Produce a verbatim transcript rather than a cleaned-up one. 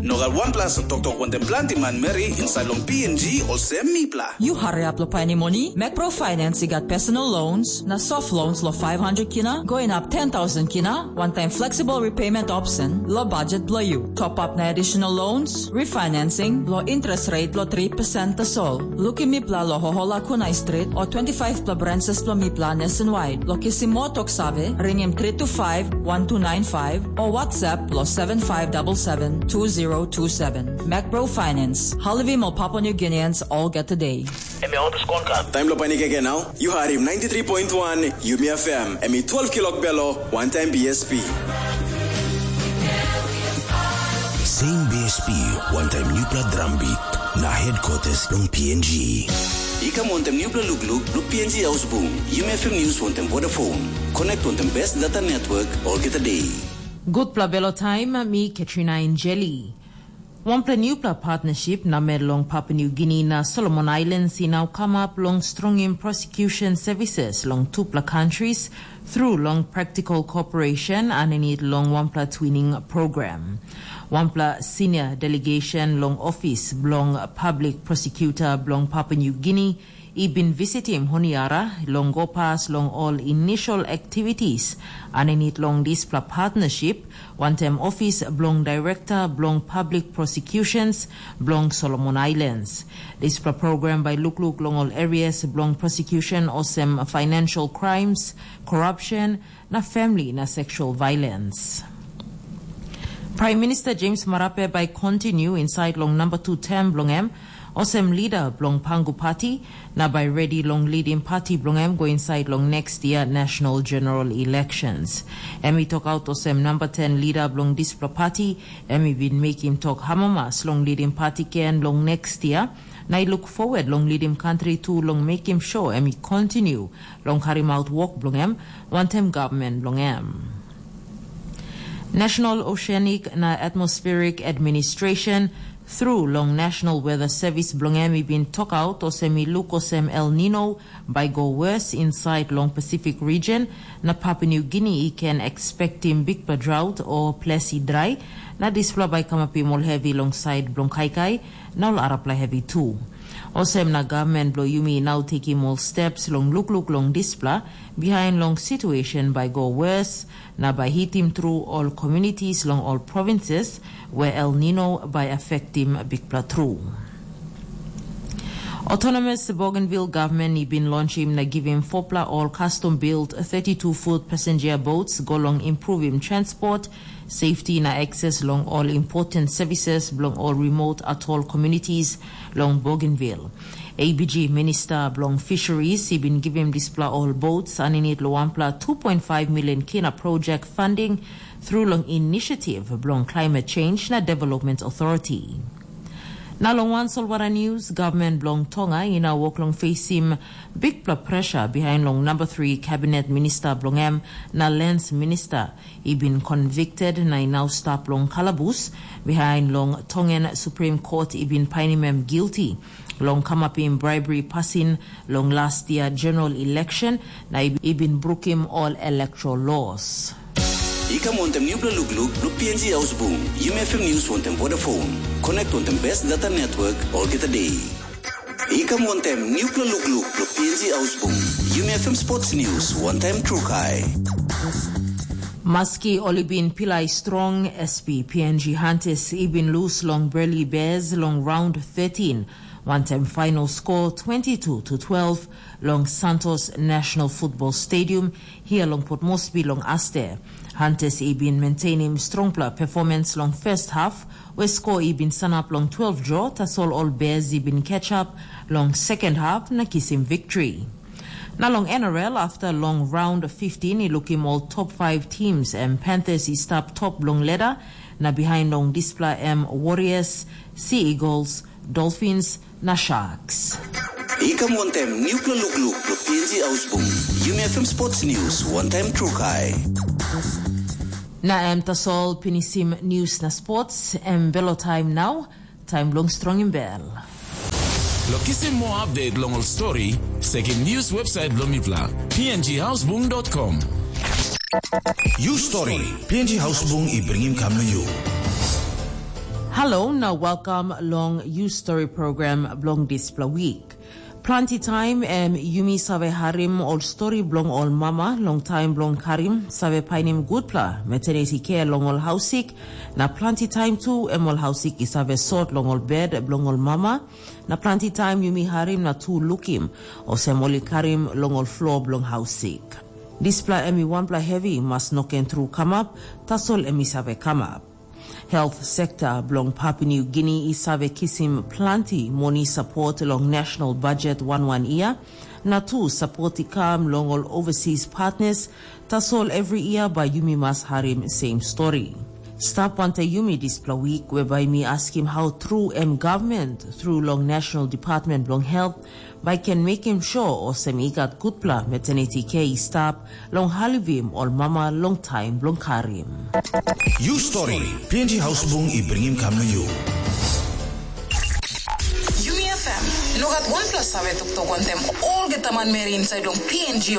No gat wanpela asa toktok wantaim planti manmeri insait long P N G olsem mipela. Yu hariap long painim moni? Macpro Finance i gat personal loans na soft loans long five hundred kina, going up ten thousand kina, wantaim flexible repayment option long budget bilong yu. Top up na additional loans, refinancing long interest rate long three percent tasol. Lukim mipela long Hohola Kunai Street o twenty-five pela branches bilong mipela nationwide. Long kisim moa tok save, ringim three two five, one two nine five o WhatsApp long seven five double seven, two zero two seven. Macbro Finance, halivim ol Papua New Guineans olgeta de. Em ya oto skon kan. Taim lo panik eke nau, yu harim ninety-three point one Yumi F M, em i twelve kilok belo, one time B S P. Same B S P, one time newpela drum beat, na headquarters long P N G. I kam wantaim newpela lukluk, lo P N G Ausbung, Yumi F M News wantaim Vodafone. Connect wantaim best data network, olgeta day. Gutpela belo taim, mi Katrina Injeli. Wanpela newpela partnership na mel long Papua New Guinea na Solomon Islands i nau kamap long strongim prosecution services long tupela countries through long practical cooperation aninit long wanpela twinning program. Wanpela senior delegation long office bilong public prosecutor bilong Papua New Guinea i bin visitim Honiara long go pas long ol initial activities aninit long dispela partnership, wantaim ofis bilong Direkta bilong Public Prosecutions bilong Solomon Islands. Dispela program bai lukluk long ol areas bilong prosecution olsem financial crimes, corruption, na family na sexual violence. Prime Minister James Marape bai continue inside long number two term bilong em olsem leader bilong Pangu Party, na bai ready long leading party bilong em go inside long next year national general elections. Em i tok out olsem number ten leader bilong dispela party, em i bin mekim tok hamamas long leading party ken long next year, na i look forward long leading country tu long mekim sure em i continue long karim out wok bilong em, wantaim gavman bilong em. National Oceanic na Atmospheric Administration, thru long National Weather Service bilong em i bin tokaut olsem i luk olsem El Nino bai go worse inside long Pacific region, na Papua New Guinea i ken expectim bikpela drought o ples i drai, na dispela bai kamapim ol hevi long side bilong kaikai, na ol arapela hevi tu. Olsem na gavman bilong yumi i nau tekim ol steps long lukluk long dispela, bihain long situation bai go worse, na bai hitim tru ol communities long ol provinces where El Nino bai affectim bikpela tru. Autonomous Bougainville Government i bin launchim na givim fopla ol custom built thirty-two foot passenger boats go long improvim transport, safety na access long ol important services bilong ol remote atoll communities long Bougainville. A B G Minister bilong Fisheries i bin givim dispela ol boats aninit lo wanpela two point five million kina project funding through long initiative bilong Climate Change na Development Authority. Na long wan solwara news, government bilong Tonga i nau wok long facing bikpela pressure behind long number three cabinet minister bilong em na lands minister i bin convicted na i nau stap long kalabus behind long Tongan Supreme Court i bin painim em guilty long kamapim bribery pasin long last year general election na i bin brukim all electoral laws. I kam wantaim newpela lukluk bilong P N G Ausbung, Yumi F M News wantaim Vodafone. Connect wantaim best data network olgeta day. I kam wantaim newpela lukluk bilong P N G Ausbung, Yumi F M Sports News wantaim Trukai. Maski ol i bin pilai strong, S P P N G Hunters i bin lose long Burley Bears long round thirteen, wantaim final score twenty-two to twelve long Santos National Football Stadium, hia long Port Moresby long Aste. Hunters i bin maintainim strongpela performance long first half, where score i bin sanap long twelve draw, tasol ol Bears i bin catch up long second half na kisim victory. Na long N R L, after long round fifteen i lukim ol top five teams, em Panthers i stap top long ladder, na behind long dispela em Warriors, Sea Eagles, Dolphins, na Sharks. I kam wantaim newpela lukluk bilong P N G Ausbung, Yumi F M Sports News wantaim Trukai. Na em tasol pinisim news na sports, em belo time nau, time long strongim bel. Lo kisim moa update long ol story, sekim news website bilong mipela, P N G Ausbung dot com. You story, P N G Ausbung i bringim kam long you. Halo na welkam long You Story program bilong dispela wik. Planti taim em yumi save harim ol stori bilong ol mama long taim bilong karim save painim gutpela maternity care long ol hausik, na planti taim tu em ol hausik i save sot long ol bed bilong ol mama, na planti taim yumi harim na tu lukim olsem ol i karim long ol flo bilong hausik. Dispela em i wanpela hevi mas no ken tru kamap, tasol em i save kamap. Health sekta bilong Papua New Guinea i save kisim planti moni sapot long national budget wan wan year, na tu sapot i kam long ol overseas partners, tasol every year bai yumi mas harim same story. Stap wante yumi dispela week whereby mi askim how tru em government through long National Department bilong Health bai ken mekim sure olsem i gat gutpela maternity care i stap long halivim ol mama long taim bilong karim. You Story, P N G Hausbung i bringim kam na you. Yumi F M, no gat wanpela save toktok wantem olgeta manmeri inside long P N G